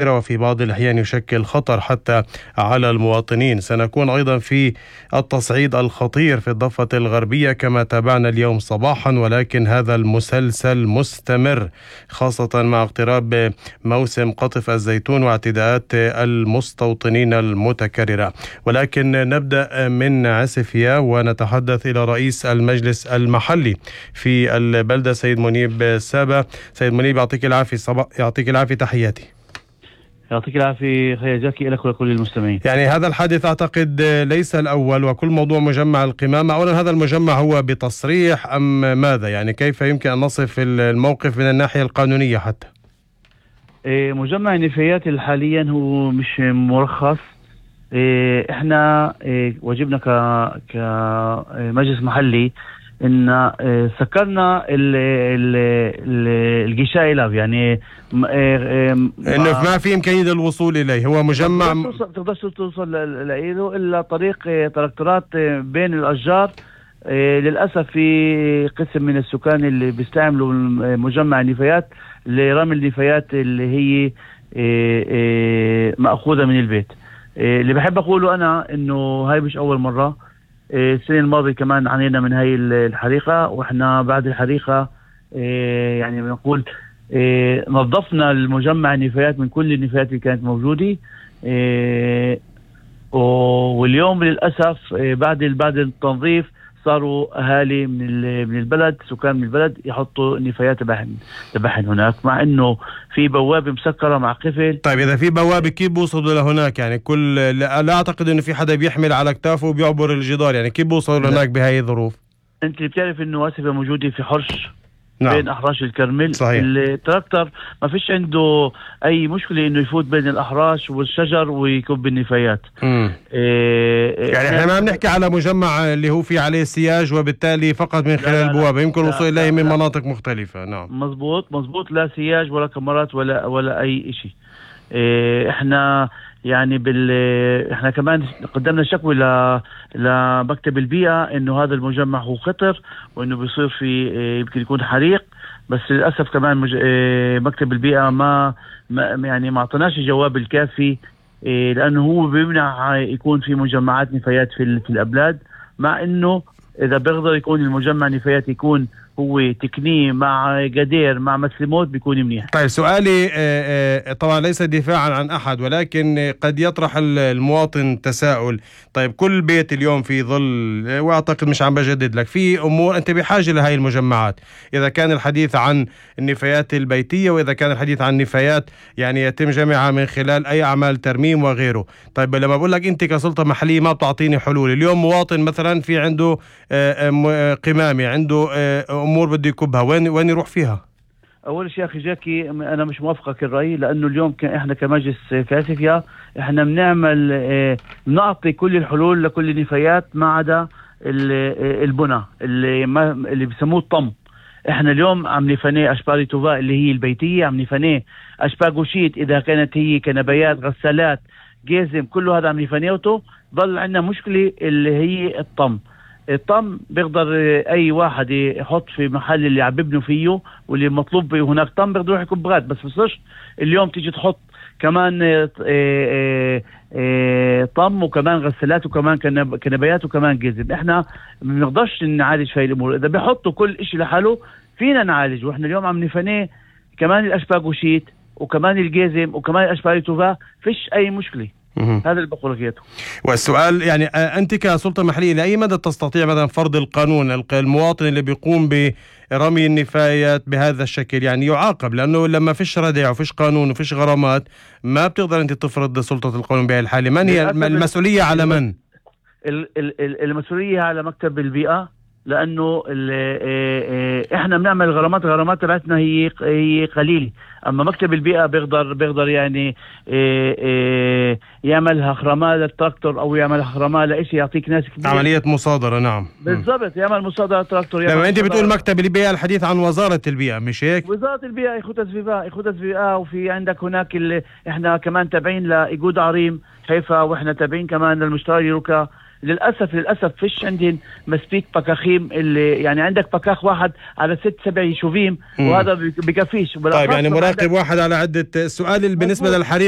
وفي بعض الأحيان يشكل خطر حتى على المواطنين. سنكون أيضا في التصعيد الخطير في الضفة الغربية كما تابعنا اليوم صباحا، ولكن هذا المسلسل مستمر خاصة مع اقتراب موسم قطف الزيتون واعتداءات المستوطنين المتكررة. ولكن نبدأ من عسفية ونتحدث إلى رئيس المجلس المحلي في البلدة سيد منيب سابا. سيد منيب يعطيك العافية، يعطيك العافية، تحياتي. يعطيك العافية خير جاكي لك ولكل المستمعين. يعني هذا الحادث أعتقد ليس الأول، وكل موضوع مجمع القمامة، أولا هذا المجمع هو بتصريح أم ماذا؟ يعني كيف يمكن أن نصف الموقف من الناحية القانونية حتى؟ مجمع النفايات حاليا هو مش مرخص. احنا واجبنا كمجلس محلي ان سكرنا الغشاء له، يعني انه ما في امكانيه للوصول اليه، هو مجمع ما تقدرش توصل له الا طريق تراكتورات بين الاشجار. للاسف في قسم من السكان اللي بيستعملوا مجمع النفايات لرمي النفايات اللي هي مأخوذة من البيت. اللي بحب اقوله انا انه هاي مش اول مرة. السنة الماضية كمان عانينا من هاي الحريقة، واحنا بعد الحريقة يعني بنقول نظفنا المجمع النفايات من كل النفايات اللي كانت موجودة. واليوم للأسف بعد التنظيف صاروا أهالي من البلد، سكان من البلد يحطوا نفايات تبعهم هناك، مع إنه في بوابة مسكرة مع قفل. طيب إذا في بوابة كيف بوصلوا لهناك؟ يعني لا أعتقد إنه في حدا بيحمل على كتافه وبيعبر الجدار، يعني كيف بوصلوا لهناك بهاي الظروف؟ أنت بتعرف إنه واسفة موجودة في حرش. نعم. بين أحراش الكرمل. صحيح. التراكتر ما فيش عنده أي مشكلة إنه يفوت بين الأحراش والشجر ويكب النفايات. يعني احنا ما بنحكي على مجمع اللي هو في عليه سياج وبالتالي فقط من خلال البوابة، يمكن الوصول إليه من مناطق مختلفة. نعم مزبوط، لا سياج ولا كاميرات ولا أي شيء. احنا يعني احنا كمان قدمنا شكوى لمكتب البيئة انه هذا المجمع هو خطر، وانه بيصير في يمكن يكون حريق. بس للأسف كمان مكتب البيئة ما يعني اعطناش الجواب الكافي، لانه هو بيمنع يكون في مجمعات نفايات في الأبلاد، مع انه اذا بيقدر يكون المجمع نفايات يكون هو تكنيه مع قدير مع مسلموت بيكون منيح. طيب سؤالي طبعا ليس دفاعا عن أحد، ولكن قد يطرح المواطن تساؤل. طيب كل بيت اليوم في ظل، واعتقد مش عم بجدد لك، في أمور أنت بحاجة لهي المجمعات، إذا كان الحديث عن النفايات البيتية وإذا كان الحديث عن نفايات يعني يتم جمعها من خلال أي أعمال ترميم وغيره. طيب لما بقول لك أنت كسلطة محلية ما بتعطيني حلول، اليوم مواطن مثلا في عنده قمامة، عنده أمور بده يكبها، وين يروح فيها؟ أول شيء أخي جاكي أنا مش موافقك الرأي، لأنه اليوم إحنا كمجلس كاسفيا إحنا بنعطي كل الحلول لكل النفايات ما عدا البنى اللي بيسموه الطم. إحنا اليوم عم نفني أشبار توفاء اللي هي البيتية، عم نفني أشبار جوشيت إذا كانت هي كنبايات غسالات جيزم، كله هذا عم نفنيوته. ضل عندنا مشكلة اللي هي الطم بيقدر اي واحد يحط في محل اللي عم ببنوا فيه واللي مطلوب هناك طم بيقدر يروح يكب غاد. بس بصيرش اليوم تيجي تحط كمان طم وكمان غسالات وكمان كنبايات وكمان جزم. احنا ما بنقدرش نعالج في الامور. اذا بيحطوا كل اشي لحاله فينا نعالج، واحنا اليوم عم نفنيه كمان الاشباك وشيت وكمان الجزم وكمان الاشباك توفا، فيش اي مشكله. هذا اللي بقول لك. والسؤال يعني أنت كسلطة محلية لأي مدى تستطيع مثلا فرض القانون؟ المواطن اللي بيقوم برمي النفايات بهذا الشكل يعني يعاقب، لأنه لما فيش ردع وفيش قانون وفيش غرامات ما بتقدر أنت تفرض سلطة القانون بهذه الحالة. من هي المسؤولية؟ على من؟ المسؤولية على مكتب البيئة، لأنه إحنا بنعمل غرامات تبعتنا هي قليلة، أما مكتب البيئة بيقدر يعني يعملها خرماء للتراكتور أو يعمل خرماء لإشي يعطيك ناس كبير. عملية مصادرة. نعم بالضبط، يعمل مصادرة تراكتور. لما أنت بتقول مكتب البيئة الحديث عن وزارة البيئة مش هيك؟ وزارة البيئة إخوة السفيفاء وفي عندك هناك اللي إحنا كمان تابعين لإيجود عريم حيفا، وإحنا تابعين كمان للمشتري يروكا. للاسف فيش عندهم مسبيك بكاخيم، اللي يعني عندك بكاخ واحد على 6-7 يشوفيم، وهذا بكفيش. طيب يعني مراقب واحد على عدة. السؤال بالنسبة للحريق